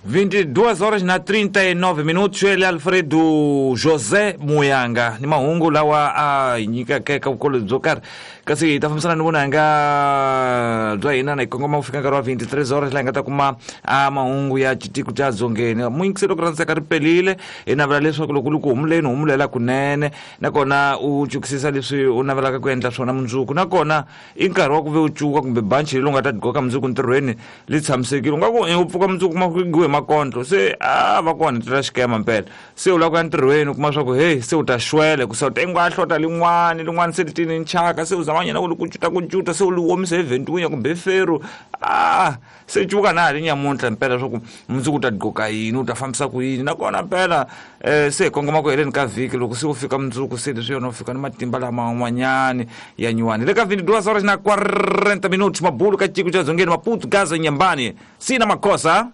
22 horas na 39 minutos. Ele Alfredo José Muyanga ni mahungu lawa a hi nyikaka eka vukolweni byo karhi, kasi hi ta fambisana ni vunanga bya hina na hi kongoma ku fika nkarhi wa 23 horas, laha hi nga ta kuma a mahungu ya xitiko xa dzongeni. Muyingiseli loko rhandzaka ri pelile, hi navela leswaku loko u ri ku humuleni, humulela kunene, nakona u cukisisa leswi u navelaka ku endla swona mundzuku. Nakona i nkarhi wa ku ve u cuka kumbe banchi leyi u nga ta gqoka mundzuku ntirhweni li tshamisekile. U nga ku u pfuka mundzuku kuma ku hi makondlo se a va ku onhetela xikema mpela, se u lava ku ya ntirhweni, u kuma swa ku heyi, se u ta xwele ku se u ta hlota lin'wani lin'wani, se li tini nchaka, se u zama nyana ku li kucuta kucuta, se u li omisa hi ventwinya kumbe feru. A se cuka na ha ri nyamuntlha mpela swa ku mundzuku u ta gqoka yini, u ta fambisa ku yini. Nakona mpela se hi kongoma ku heleni ka vhiki, loko se u fika mundzuku, se leswi yona u fika ni matimba laman'wanyani ya nyuwani. Le ka 22 horas na 40 minutos, mabulu ka ciko xa dzongeni, Maputo, Gaza, Nyambani, sina makosa.